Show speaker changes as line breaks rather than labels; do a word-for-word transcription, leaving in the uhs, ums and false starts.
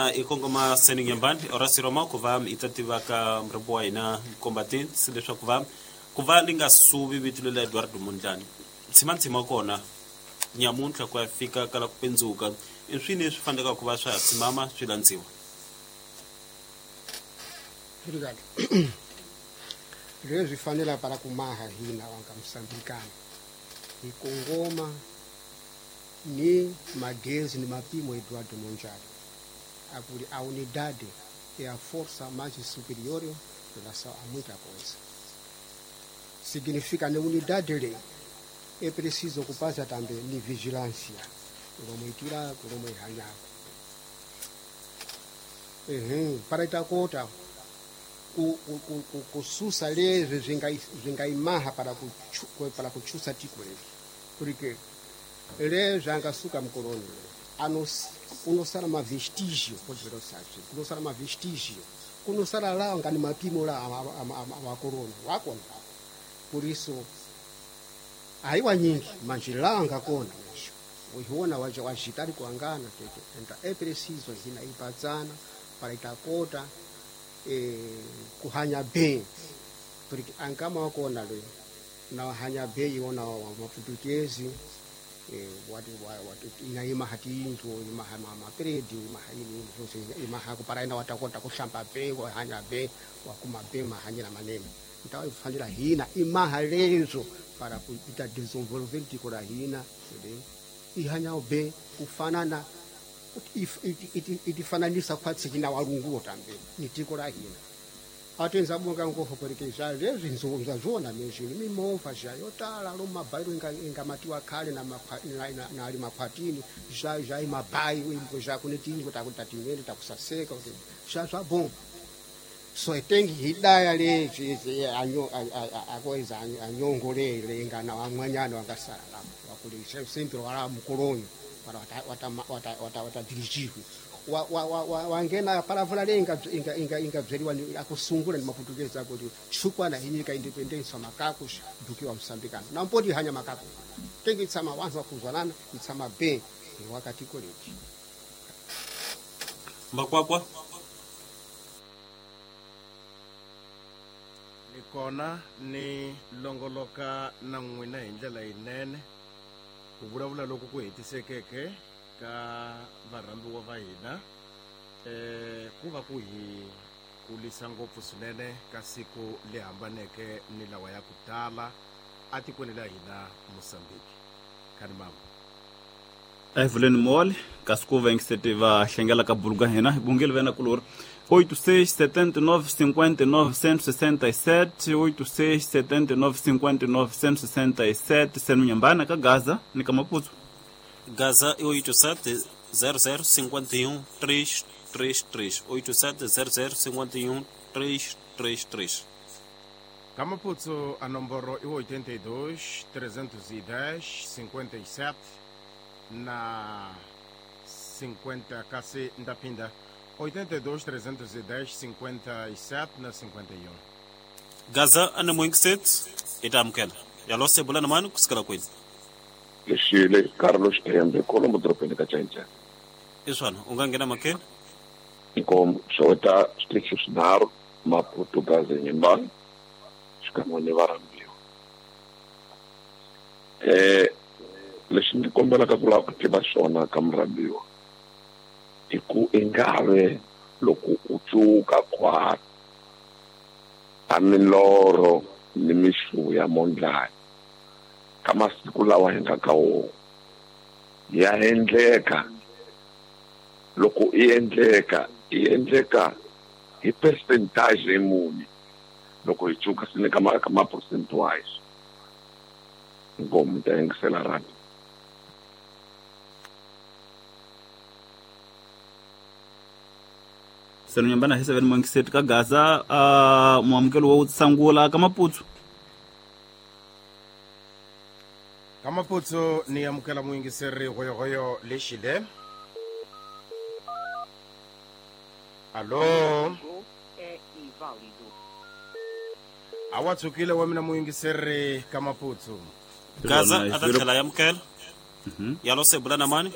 I kongoma Seni Nyambani Horace Roma ku va hi ta tiva ka murhambi wa hina combatants leswaku va ku va li nga suvi vito lela Eduardo Mondlane tshima tshima kona nyamuntlha ku ya fika kala ku pendzuka i swini leswi fanelaka ku va swa ha tshimama swi landziwa.
Obrigado. Leswi fanela para kumaha hina wanga Msambikana hi kongoma ni magezi ni mapimo Eduardo Mondlane akuli a unidade é a força mais superior em relação a muita coisa. Significa na unidade le é preciso ocupar-se também de vigilância, como itira, como ihanyaku. Uhum, para itakota ku ku ku kususa lezwe zvingaimaha para kuchu, para kuchusa tiko lezi. Porque lezwe angasuka mkoloni ano kunosala mavestígio, pode ver o kunosala mavestígio, kunosala lá ngani mapimo lá amakorona wakona. Por isso aiwa nyingi manjilanga kona mesho uiona waje wajitari kuangana tete. Então é preciso hina ipazana para itakota eh, kuhanya bem, porque angama wakona le na hanya bem iona wa maputukezi eh, watu watu inaima hatinzo imaha mama predi imaha ini imaha kupara ina watakota kushamba bem wahanya bem wakuma bem mahanya na maneno. Então eu falei hina imaha lezo para ita desenvolver tiko la hina ihanya bem kufanana itifananisa kwatsikina walunguo tambe ni tiko la hina atenza bunga ngofo porque já lezwi nzunza zona mejini mimova já yotala lo mabairo inga inga matiwa khale na na na ali makwatini já já imabai imbo já kunetingo takutatimene takusaseka kuti já já bom so etengi hidaya lezi anyo akoiza anyongole lengana wamwanyana wangasala wakuli sempre wala mkoloni para wata wata wata wata dirigiwe wa wa wa wangena palavra lenga inga inga inga bzeriwa akusungula ni maputukeza kuti chukwana inyika independence makako dukiwa Msambikana na mpoti hanya makako tengi tsama wanza kuzwanana itsama be wakati koleji
Makwakwa
ni kona ni longoloka na n'wina hi ndlela yinene ku vulavula loko ku hetisekeke ka varhambiwa va hina eh ku va ku hi kulisa ngopfu swinene ka siku le hambaneke ni lawa ya ku tala atikweni la hina Mozambique. Khani mama
Evelyn Mole kasi ku va ngisete va hlengela ka buluka hina bungeli vena kulori oito seis setenta e nove cinquenta e nove cento e sessenta e sete oito seis setenta e nove cinquenta e nove cento e sessenta e sete senu Nyambana ka Gaza ni ka Maputo.
Gaza é oito sete zero zero cinquenta e um três três três oito sete zero zero cinquenta e um três três três.
Ka Maputo a nomboro é oitenta e dois trezentos e dez cinquenta e sete na cinquenta kasi ndapinda oitenta e dois trezentos e dez cinquenta e sete na cinquenta e um.
Gaza ana moinkiset itamkela yalose bulana manu kusikala kwenu
Lexile Carlos Tembe Colombo dropeni ka Chanchan
iswana ungangena makhe
inkomo xota switichi swinharhu Maputo Gaza Nyambani xikan'we ni varhambiwa eh lexi ndzi kombelaka ku lava ku tiva xona ka murhambiwa i ku ingave loko u cuka khwati a milorho ni mixu ya Mondlane ka masiku lawa hi nga ka wona ya endleka loko i endleka i endleka hi percentage muni loko hi cuka swi ka ma ka ma percent wise inkomu ta yingisela rhabi.
Senu Nyambana hi seven moinkiset ka Gaza uh, muamukelo wa sangula ka Maputo.
Ka Maputo ni amukela muyingiseri hoyohoyo lexile. Alô. Awa tsukile wa mina muyingiseri ka Maputo.
Gaza ata tlhela ya amukela. Yalose bulana mani.